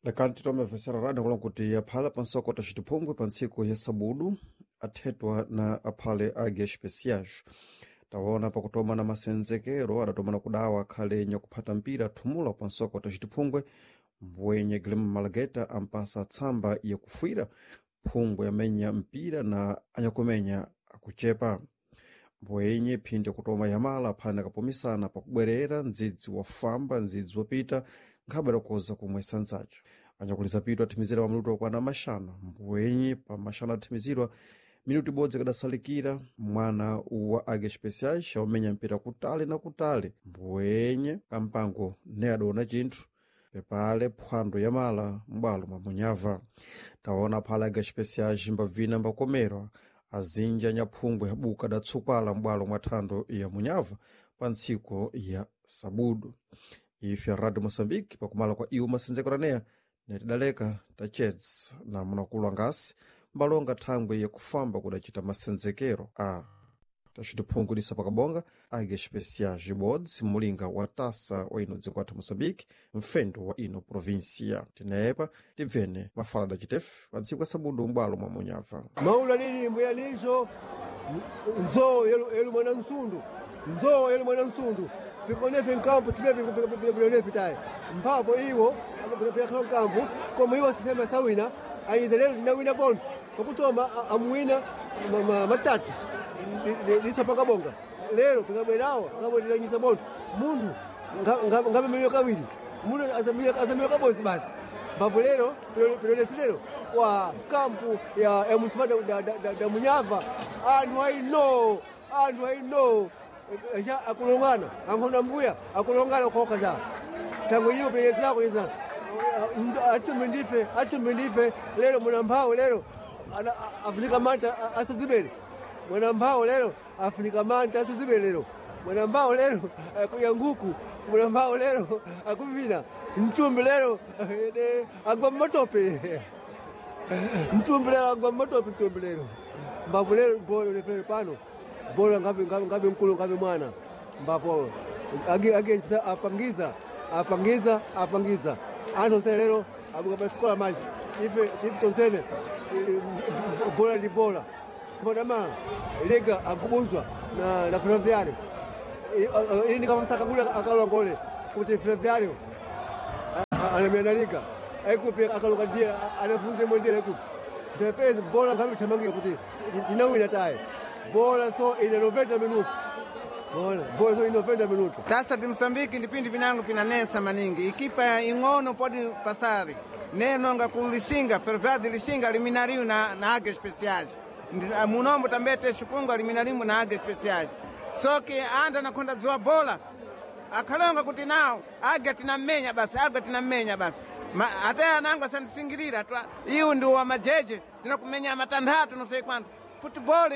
Lekani titomvesera rada kulo kuti aphala pansoko tacitiphungwe pa ntsiku ya sabudu athetwa na aphale age especiais. Taona pakutoma na masenzekero adatomana kudawa akhale nyakuphata mpira thumula pansoko tacitiphungwe mbwenye Guilherme Malageta ampasa tsamba yakufuira phungwe amenya mpira na anyakumenya akuchepa. Mbwenye phindi kutoma yamala aphale nakapumisana pakubwerera ndzidzi wafamba ndzidzi wapita nkhabe adakoza kumwesa ndzaca. Anyakuliza pitu athimizira pa minutu okwana maxanu. Mbwenye pa maxanu athimizidwa minutu ibodzi ikadasalikira mwana wa Águias Especiais aumenya mpira kutali na kutali. Mbwenye kampango ne adaona chinthu pepale phwando yamala m'bwalo mwa munyava. Taona phala Águias Especiais mbavina mbakomerwa azinji anyaphungwe abuka adatsukwala m'bwalo mwa thando ya munyava pa ntsiku ya sabudu. Ife a Radio Moçambique pakumala kwa iwo masenzekero aneya netidaleka tachedza na munakulu angasi mbalonga thangwe yakufamba kudacita masenzekero a tacitiphungulisa pakabonga Águias Especiais ibodzi mulinga wa tasa wa ino dziko athu Moçambique mfendo wa ino província. Tinepa tibvene mafala adacitefe pa ntsiku ya sabudu m'bwalo mwa munyava. Maula nini mbuyaniso nzo yelu mwana msundu nzo yelu mwana msundu pikonefe nkampu sipepilenefe tayi mphapo iwo pikakhala nkampu koma iwo sisema sawina ayiza lero tinawina bondo pakutoma amuwina matatu lisopakabonga lero pikabwerawo akabwereranyisa bondo munthu ngapemeiwe kawiri munthu azamiwe kabodzi basi mphapo lero pilonefe lero wa kampu ya munthu da munyava anthu aino anthu aino akulongana ankhona mbuya akulongana khoka cha tango iyo peyezako yeza atume ndife atume ndife lero mwana mphawo lero afunika manta asazibele mwana mphawo lero afunika manta asazibele lero mwana mphawo lero akuya nguku mwana mphawo lero akuvina mtumbi lero agwa mmatope mtumbi lero agwa mmatope mtumbi lero mbapo lero bolo lefere pano bolo ngabe ngabe mkulu ngabe mwana mbapo age age apangiza apangiza apangiza anthu onse lero abuka pasikola maji ife ife tonsene bola ndi bola sipadama liga akubuzwa na ferroviário ini kamasakagula akalongole kuti ferroviário alemena liga aikupi akaluka ndiye anafunze mwendere aikupi pepezi bola ngabe chamangira kuti tinawina tayi bola so ine 90 minuto bola bola so ine 90 minuto. Tasa di Msambiki ndi pindi pinango pinanesa maningi ikipa ing'ono podi pasari nenonga ku Lisinga Ferroviário de Lisinga eliminariu na Águias Especiais. Munombo também te Chipungu eliminariu na Águias Especiais. Só que anda na conta dzoa bola akhalonga kuti nawo águia tinamenya basi águia tinamenya basi. Ate anango asandisingirira iwu ndi wa majeje tinakumenya matanthatu não sei quanto. Futebol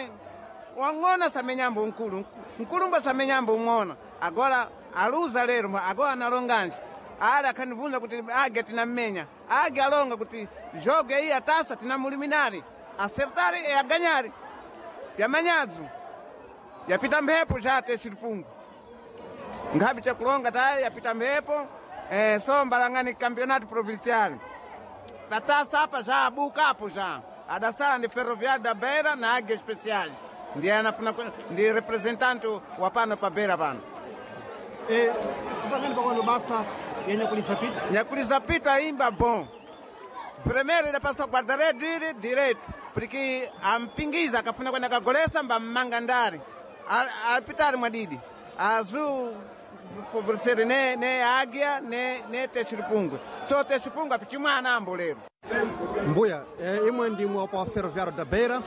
wang'ona samenyambo mkulu mkulumba samenyambo ung'ona agora aluza lero agora analonganji ali akhandibvunza kuti águia tinammenya águia alonga kuti jogo iyi atasa tinamuliminari acertari e aganyari pyamanyadzo yapita mphepo chate chilipungu nkhapi chakulonga tayi yapita mphepo so mbalangani campeonato provincial patasa apa já abuka apo já adasala ndi Ferroviário da Beira na Águia Especiais ndiye anafuna ndi representante wa pano pa Beira pano. Tipangani pakwano basa ya nyakulisa pita nyakulisa pita imba bom primeiro idapasa guarda-redes dire direito porque ampingiza akafuna kwenda kagolesa mbammanga ndari apitari mwadidi azul pobrecer ne águia ne texiripungwe so texiripungwe apichimwana ambo lero. Mbuya imwe ndimwe pa Ferroviário da Beira.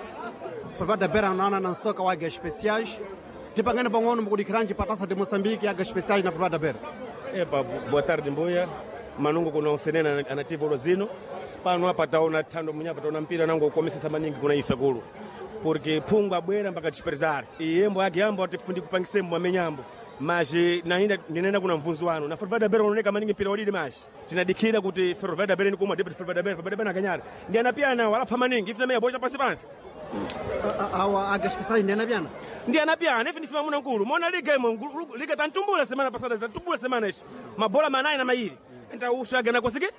Ferroviário da Beira naona na nsoka wa Águias Especiais. Tipangani pang'ono mukudikhiranji pa Taça de Moçambique Águias Especiais na Ferroviário da Beira. Epa, boa tarde mbuya manungo kuna usenena anativo lozino pano apa taona thando munyapa taona mpira nango ukomesesa maningi kuna ife kulu porque phungu abwera mpaka dispersar iyembo ake yambo atifundi kupangisembo amenyambo maji nainda ndinena kuna mvunzi wanu na Ferroviário da Beira unaoneka maningi mpira wadidi maji tinadikhira kuti Ferroviário da Beira ni kumwa deputy Ferroviário da Beira Ferroviário da Beira nakanyara ndi anapiana walapha maningi ife nameya bocha pansi pansi Awa Águias Especiais ndi anapiana ndi anapiana ife ndife mamuna nkulu mona liga imwe liga tantumbula semana pasada tantumbula semana ichi mabola manayi na mairi enta usho agana kosike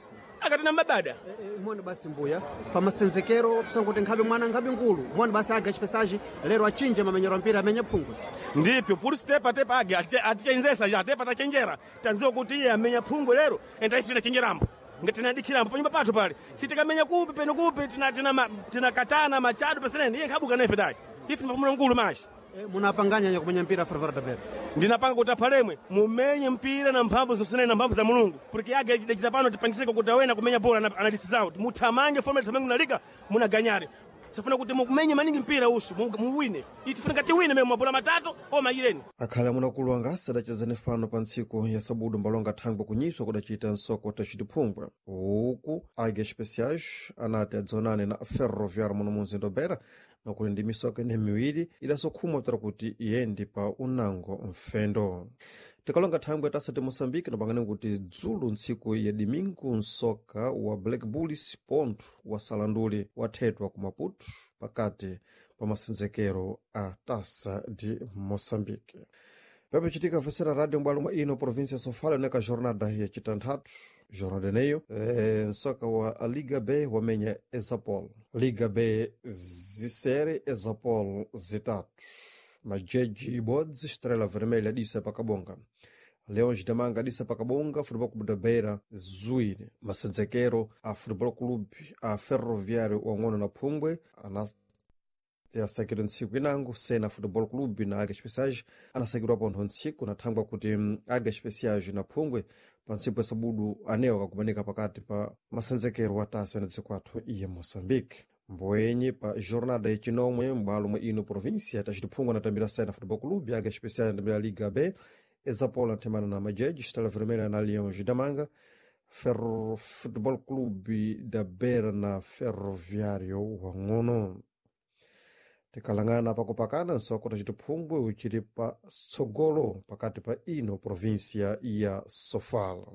Akatina mabada. Mone basi mbuya pamasenzekero psanguti nkhabe mwana nkhabe nkulu mone basi aga chipesaji lero achinje mamenyero mpira amenya phungwe. Ndipyo puri tepa tepa age atichenjesa ja tepa tachenjera tanziwa kuti iye amenya phungwe lero enda ife tinachenjerambo ngatinadikhirambo panyumba pathu pale sitikamenya kupi peno kupi tinakatana machado pasenene iye nkhabuka nefe tayi ife ndipamuna nkulu mashi. Munapanganya nya kumenya mpira Ferroviário da Beira. Ndinapanga kuti aphalemwe mumenye mpira na mphamvu zosenene na mphamvu za Mulungu porque age dachita pano tipangisike kuti awena kumenya bola anadisizawo muthamange fome thamange munalika munaganyare sifuna kuti mumenye maningi mpira usu muwine itifuna tiwine mwe mabola matatu o mayireni. Akhale amunakulu angasi adachezani pano pa ntsiku ya sabudu mbalonga thangwe kunyiswa kudachita nsoko tacitiphungwe uku Águia Especiais anati adzaonane na Ferroviário muno mumzinda Beira nakuli ndi misoka ine miwiri idasokhumwa ptera kuti iyendi pa unango mfendo. Tikalonga thangwe tasati Moçambique napangani kuti dzulo ntsiku ya dimingu msoka wa Black Bulls pontho wa Salanduli wathedwa ku Maputo pakati pa masenzekero a Taça de Moçambique. Pepe vesera radio mbwalo mwa ino província Sofala neka jornada ya chitanthatu jornada eneyo nsoka wa Liga B wamenya Exapol Liga B zisere Exapol zitatu Majeji ibodzi Estrela Vermelha adisa pakabonga Leões da Manga adisa pakabonga Futebol Clube da Beira zuire masenzekero a Futebol Clube a Ferroviário wang'ono na Phungwe anasakidwa ntsiku inango Sena Futebol Clube na Águia Especiais anasakidwa pontho ntsiku nathangwa kuti Águia Especiais na Phungwe pa ntsiku ya sabudu anewo akakumanika pakati pa masenzekero wa tasa na dziko athu iya Moçambique. Mboenye pa jornada yachinomwe m'bwalo mwa ino província tacitiphungwa anatambira Sena Futebol Clube, Águia Especiais anatambira Liga B, Exapol anathemana na Majeji, Estrela Vermelha na Leões da Manga, Ferro Futebol Clube da Beira na Ferroviário wang'ono. Tikalang'ana pakupakana nsoko tacitiphungwe uchili pa tsogolo pakati pa ino província ya Sofala.